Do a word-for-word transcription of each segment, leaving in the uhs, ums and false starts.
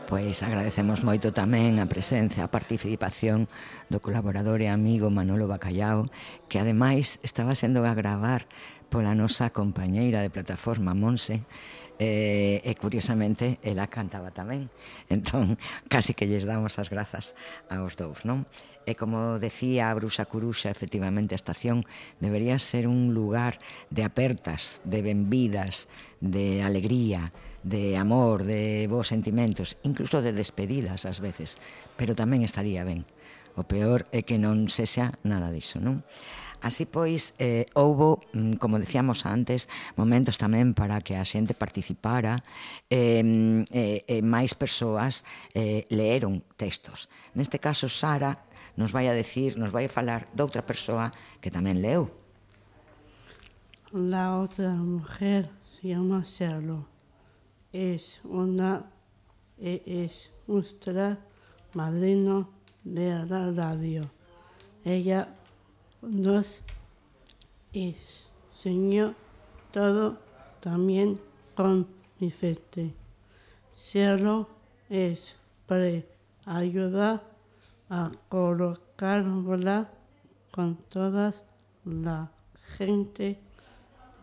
Pois agradecemos moito tamén a presencia, a participación do colaborador e amigo Manolo Bacallao, que ademais estaba sendo a gravar pola nosa compañeira de plataforma Monse, e, e curiosamente ela cantaba tamén, entón casi que lles damos as grazas aos dous, non? E como decía a Bruxa Curuxa, efectivamente a estación debería ser un lugar de apertas, de benvidas, de alegría, de amor, de bons sentimentos, incluso de despedidas ás veces, pero tamén estaría ben. O peor é que non sexa nada diso, non? Así pois, eh, houbo, como decíamos antes, momentos tamén para que a xente participara, e eh, eh, máis persoas eh, leeron textos. Neste caso, Sara nos vai a decir, nos vai a falar doutra persoa que tamén leu. La otra mujer se llama Sherlock. Es una es nuestra madrina de la radio. Ella nos enseñó todo también con mi fe. Sherlock es para ayudar a colocarla con toda la gente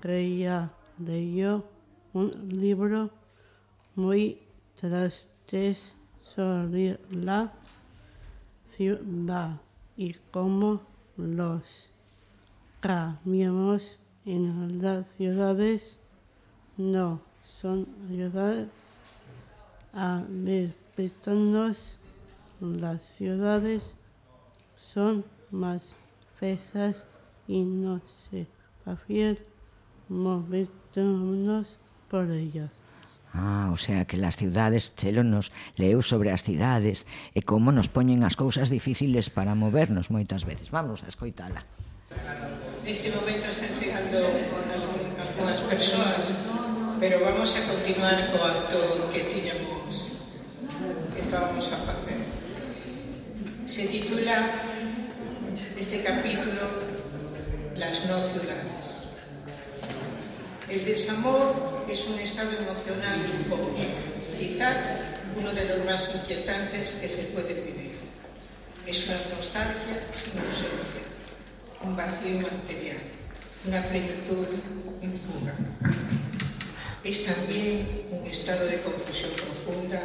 que ya leyó un libro muy triste sobre la ciudad y cómo los camiones en las ciudades no son ayudados a respetarnos. Las ciudades son más feas y no se prefiere movernos por ellas. Ah, o sea que las ciudades, Chelo nos leu sobre as cidades e como nos poñen as cousas difíciles para movernos moitas veces. Vamos a escoitala. Neste momento están chegando algunhas persoas, pero vamos a continuar co acto que tiñamos, que estábamos a facer. Se titula este capítulo Las no ciudades. El desamor es un estado emocional incómodo, quizás uno de los más inquietantes que se puede vivir. Es una nostalgia sin ausencia, un vacío material, una plenitud en fuga. Es también un estado de confusión profunda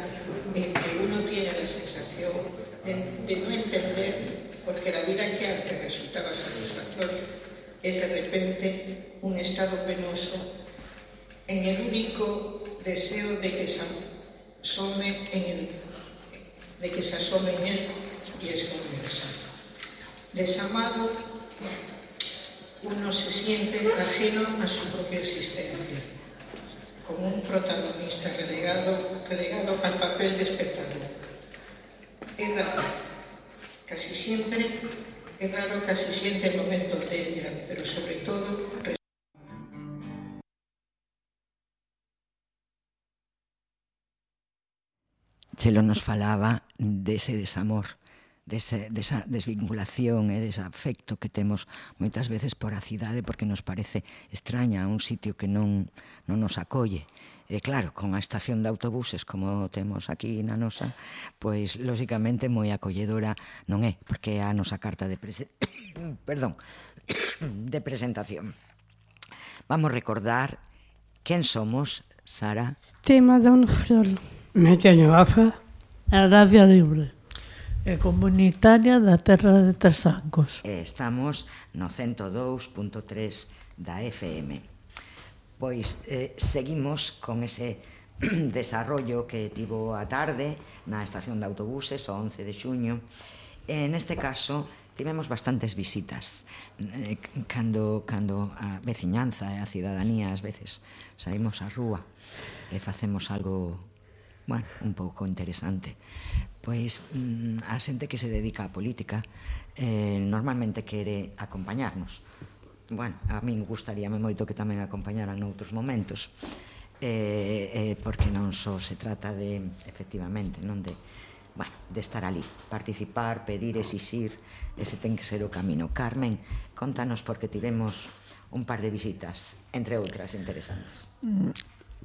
en que uno tiene la sensación de, de no entender por qué la vida que antes resultaba satisfactoria es de repente un estado penoso en el único deseo de que se asome en él, de que se asome en él y es universal. Desamado, uno se siente ajeno a su propia existencia, como un protagonista relegado, relegado al papel de espectador. Es raro, casi siempre Es raro casi siente momentos de ella, pero sobre todo... Chelo nos falaba dese desamor, dese, desa desvinculación e dese afecto que temos moitas veces por a cidade porque nos parece extraña, un sitio que non, non nos acolle. E claro, con a estación de autobuses como temos aquí na nosa, pois, lóxicamente, moi acolledora non é, porque é a nosa carta de prese... perdón, de presentación. Vamos recordar quen somos, Sara. Tema de un frol. Me teño gafa. A Radio Libre. E comunitaria da Terra de Tresancos. E estamos no cento dous punto tres da F M. Pois eh, seguimos con ese desarrollo que tivo a tarde na estación de autobuses o once de xuño. E neste caso tivemos bastantes visitas. Eh, cando, cando a veciñanza e a cidadanía ás veces saímos á rúa e facemos algo, bueno, un pouco interesante. Pois mm, a xente que se dedica á política eh, normalmente quere acompañarnos. Bueno, a min gustaríame moito que tamén acompañaran noutros momentos, eh, eh, porque non só se trata de, efectivamente, non de, bueno, de estar ali, participar, pedir, exixir, ese ten que ser o camino. Carmen, contanos porque tivemos un par de visitas, entre outras interesantes.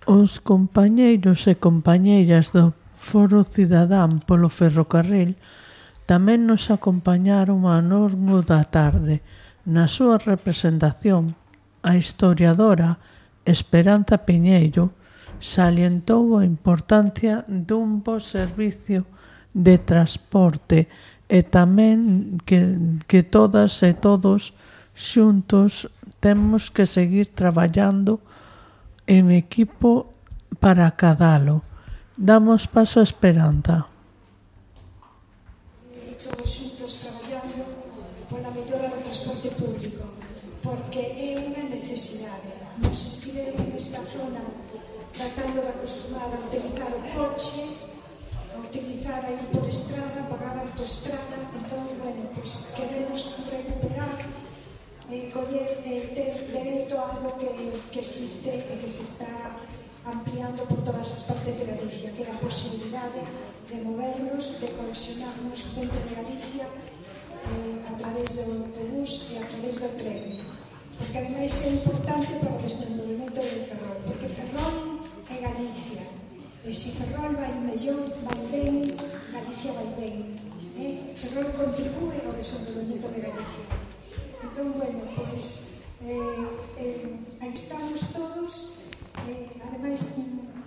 Os compañeiros e compañeiras do Foro Cidadán polo Ferrocarril tamén nos acompañaron ao longo da tarde. Na súa representación, a historiadora Esperanza Piñeiro salientou a importancia dun bo servicio de transporte e tamén que, que todas e todos xuntos temos que seguir traballando en equipo para acadalo. Damos paso a Esperanza. Todos xuntos traballando pola mellora do transporte público, porque é unha necesidade. Nos estiveron nesta zona tratando de acostumar a utilizar o coche, a utilizar a ir por estrada, pagar a autoestrada. Entón, bueno, pues queremos recuperar, eh, coller, eh, ter dereito a algo que, que existe e que se está ampliando por todas as partes de Galicia, que é a posibilidade de movernos, de conexionarnos dentro de Galicia eh, a través do autobús e a través do tren. Porque ademais é importante para o desenvolvemento de Ferrol, porque Ferrol é Galicia, e se Ferrol vai mellor, vai ben, Galicia vai ben. Eh? Ferrol contribúe ao desenvolvemento de Galicia. Entón, bueno, pois eh, eh, aí estamos todos. Eh, ademais,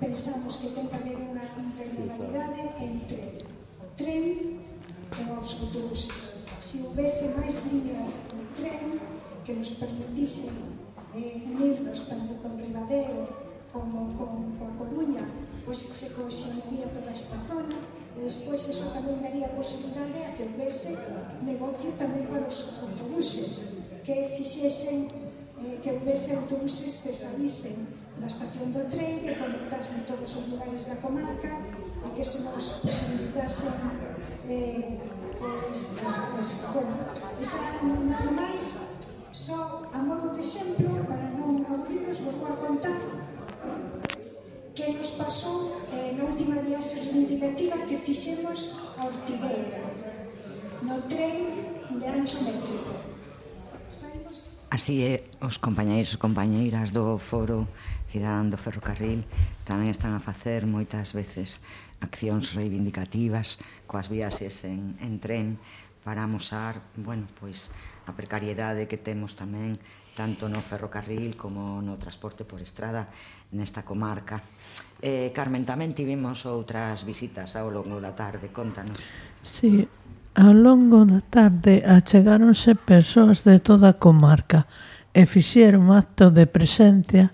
pensamos que ten que haber unha intermodalidade entre o tren e os autobuses. Se houvese máis líneas de tren que nos permitisen eh, unirnos tanto con Ribadeo como con, con a Coruña, pois se cohesionaría toda esta zona, e despois eso tamén daría a posibilidade a que houvese negocio tamén para os autobuses, que fixesen, eh, que houvese autobuses que salisen na estación do tren, que conectasen todos os lugares da comarca e que se nos posibilitasen eh, pues, pues, bueno, esa nada máis, só a modo de exemplo, para non aburrirnos, vos vou a contar que nos pasou eh, na última viaxe reivindicativa que fixemos a Ortigueira no tren de ancho métrico. Saímos... Así é, os compañeiros e compañeiras do Foro Cidadán do Ferrocarril tamén están a facer moitas veces accións reivindicativas coas viaxes en, en tren para amosar, bueno, pois a precariedade que temos tamén tanto no ferrocarril como no transporte por estrada nesta comarca. Eh, Carmen, tamén tivemos outras visitas ao longo da tarde, contanos. Sí, ao longo da tarde achegáronse persoas de toda a comarca e fixeron acto de presencia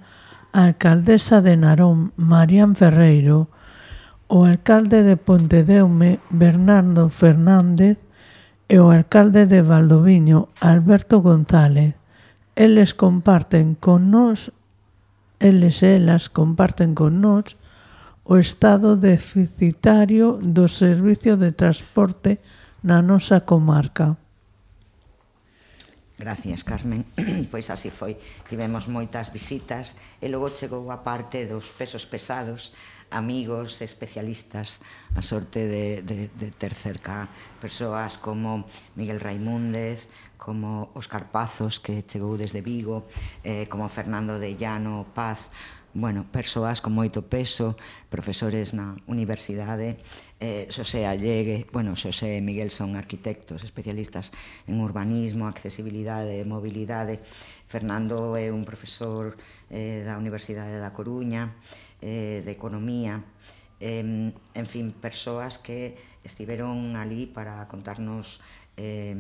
a alcaldesa de Narón, Marián Ferreiro, o alcalde de Pontedeume, Bernardo Fernández, e o alcalde de Valdoviño, Alberto González. Eles comparten con nós, eles e elas comparten con nós o estado deficitario do servicio de transporte na nosa comarca. Gracias, Carmen. Pois así foi. Tivemos moitas visitas e logo chegou a parte dos pesos pesados, amigos, especialistas, a sorte de, de, de ter cerca persoas como Miguel Raimúndez, como Óscar Pazos, que chegou desde Vigo, eh, como Fernando de Llano Paz, bueno, persoas con moito peso, profesores na universidade, eh, Xosé Allegue, bueno, Xosé e Miguel son arquitectos, especialistas en urbanismo, accesibilidade e mobilidade. Fernando é un profesor eh, da Universidade da Coruña, eh, de Economía, eh, en fin, persoas que estiveron ali para contarnos eh,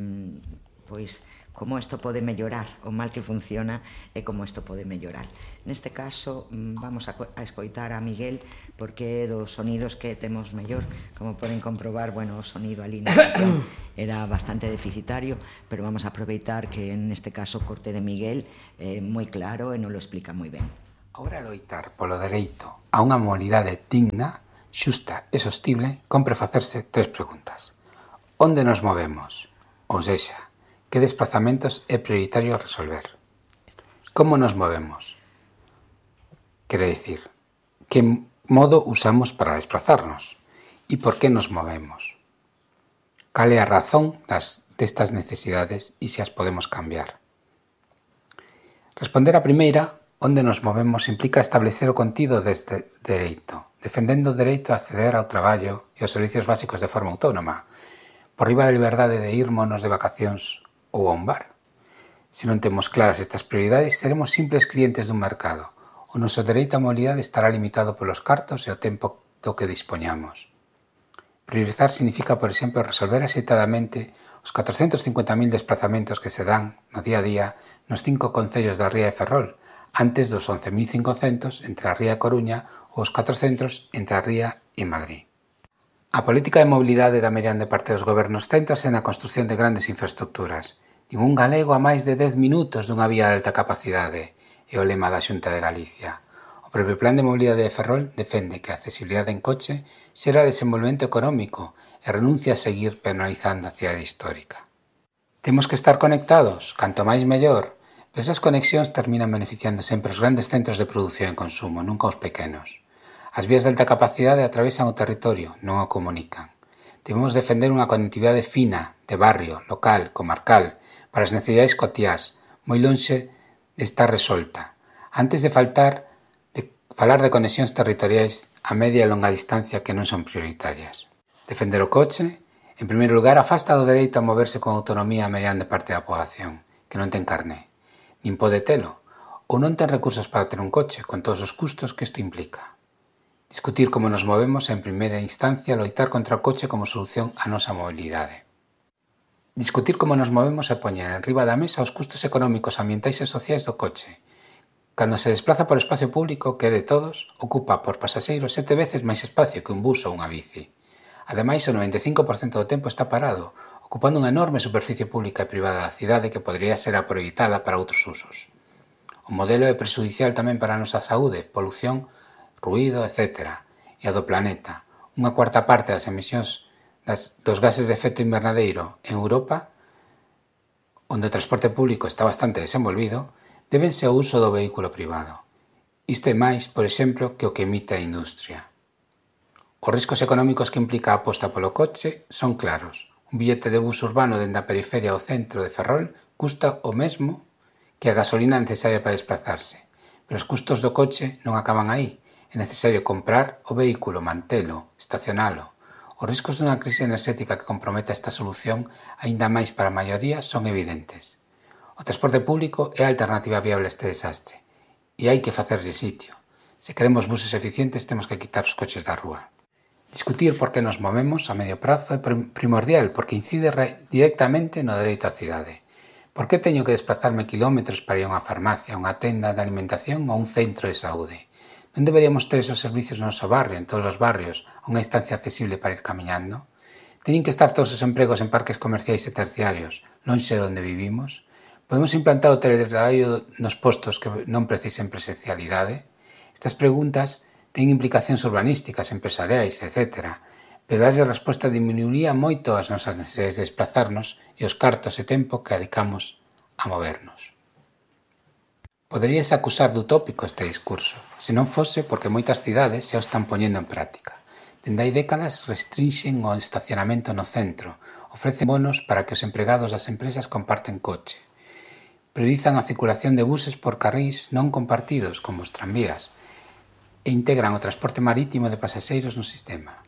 pois como isto pode mellorar, o mal que funciona e como isto pode mellorar. Neste caso, vamos a, a escoitar a Miguel, porque dos sonidos que temos mellor, como poden comprobar, bueno, o sonido ali na estación era bastante deficitario, pero vamos a aproveitar que neste caso o corte de Miguel é eh, moi claro e non lo explica moi ben. Ahora loitar polo dereito a unha mobilidade digna, xusta e sostible, compre facerse tres preguntas. Onde nos movemos? Ou sexa, que desplazamentos é prioritario resolver? Como nos movemos? Quere dicir, que modo usamos para desplazarnos? E por que nos movemos? Cal é a razón das, destas necesidades e se as podemos cambiar? Responder a primeira, onde nos movemos, implica establecer o contido deste dereito, defendendo o dereito a acceder ao traballo e aos servicios básicos de forma autónoma, por riba da liberdade de irmonos de vacacións ou a un bar. Se non temos claras estas prioridades, seremos simples clientes dun mercado. O noso dereito á mobilidade estará limitado polos cartos e o tempo do que dispoñamos. Priorizar significa, por exemplo, resolver axeitadamente os catrocentos cincuenta mil desplazamentos que se dan no día a día nos cinco concellos da Ría de Ferrol, antes dos once mil cincocentos entre a Ría e Coruña ou os catrocentos entre a Ría e Madrid. A política de mobilidade da maior parte dos gobernos céntrase na construción de grandes infraestructuras. Ningún galego a máis de dez minutos dunha vía de alta capacidade, é o lema da Xunta de Galicia. O propio Plan de Mobilidade de Ferrol defende que a accesibilidade en coche será desenvolvemento económico e renuncia a seguir penalizando a cidade histórica. Temos que estar conectados, canto máis mellor, pero esas conexións terminan beneficiando sempre os grandes centros de produción e consumo, nunca os pequenos. As vías de alta capacidade atravesan o territorio, non o comunican. Debemos defender unha conectividade fina, de barrio, local, comarcal, para as necesidades cotiás, moi lonxe de estar resolta, antes de faltar de falar de conexións territoriais a media e longa distancia que non son prioritarias. Defender o coche, en primeiro lugar, afasta do dereito a moverse con autonomía a meirande parte da poboación, que non ten carné, nin pode telo, ou non ten recursos para ter un coche, con todos os custos que isto implica. Discutir como nos movemos e, en primeira instancia, loitar contra o coche como solución á nosa mobilidade. Discutir como nos movemos e poñer en riba da mesa os custos económicos, ambientais e sociais do coche. Cando se desplaza por espacio público, que é de todos, ocupa por pasaxeiro sete veces máis espacio que un bus ou unha bici. Ademais, o noventa e cinco por cento do tempo está parado, ocupando unha enorme superficie pública e privada da cidade que podería ser aproveitada para outros usos. O modelo é prexudicial tamén para a nosa saúde, polución, ruído, etcétera, e a do planeta. Unha cuarta parte das emisións das, dos gases de efecto invernadeiro en Europa, onde o transporte público está bastante desenvolvido, débense ao uso do vehículo privado. Isto é máis, por exemplo, que o que emite a industria. Os riscos económicos que implica a aposta polo coche son claros. Un billete de bus urbano dende a periferia ao centro de Ferrol custa o mesmo que a gasolina necesaria para desplazarse. Pero os custos do coche non acaban aí. É necesario comprar o vehículo, mantelo, estacionalo. Os riscos dunha crise enerxética que comprometa esta solución, aínda máis para a maioría, son evidentes. O transporte público é a alternativa viable a este desastre. E hai que facerlle sitio. Se queremos buses eficientes, temos que quitar os coches da rúa. Discutir por que nos movemos a medio prazo é primordial porque incide directamente no dereito á cidade. Por que teño que desplazarme kilómetros para ir a unha farmacia, a unha tenda de alimentación ou a un centro de saúde? Non deberíamos ter esos servicios no noso barrio, en todos os barrios, a unha instancia accesible para ir camiñando? Teñen que estar todos os empregos en parques comerciais e terciarios, lonxe de onde vivimos? Podemos implantar o teletraballo nos postos que non precisen presencialidade? Estas preguntas teñen implicacións urbanísticas, empresariais, etcétera, pero darlle resposta diminuiría moito as nosas necesidades de desplazarnos e os cartos e tempo que dedicamos a movernos. Poderíase acusar de utópico este discurso, se non fose porque moitas cidades xa o están poñendo en práctica. Dende hai décadas restrinxen o estacionamento no centro, ofrecen bonos para que os empregados das empresas comparten coche. Priorizan a circulación de buses por carrís non compartidos, como os tranvías, e integran o transporte marítimo de pasaxeiros no sistema,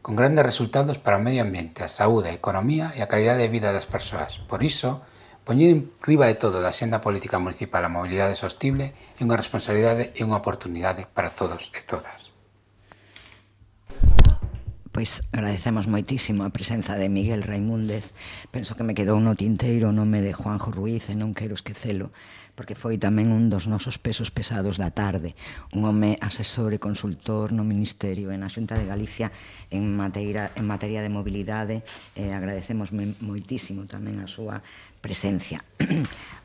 con grandes resultados para o medio ambiente, a saúde, a economía e a calidade de vida das persoas. Por iso, poñer en riba de todo da xenda política municipal a mobilidade sostible é unha responsabilidade e unha oportunidade para todos e todas. Pois agradecemos moitísimo a presenza de Miguel Raimúndez. Penso que me quedou no tinteiro o nome de Juanjo Ruiz e non quero esquecelo, porque foi tamén un dos nosos pesos pesados da tarde, un home asesor e consultor no Ministerio e na Xunta de Galicia en materia, en materia de mobilidade, e agradecemos moitísimo tamén a súa presencia.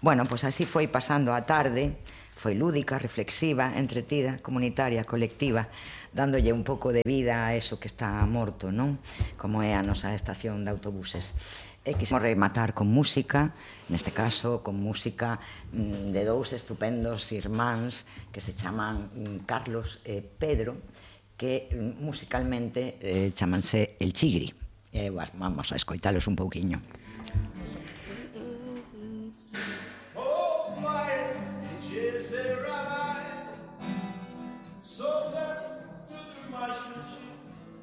Bueno, pois así foi pasando a tarde, foi lúdica, reflexiva, entretida, comunitaria, colectiva, dándolle un pouco de vida a eso que está morto, non? Como é a nosa estación de autobuses. E quisemos rematar con música, neste caso con música de dous estupendos irmáns que se chaman Carlos e Pedro, que musicalmente eh, chamanse El Chigri. E, bueno, vamos a escoitalos un pouquiño.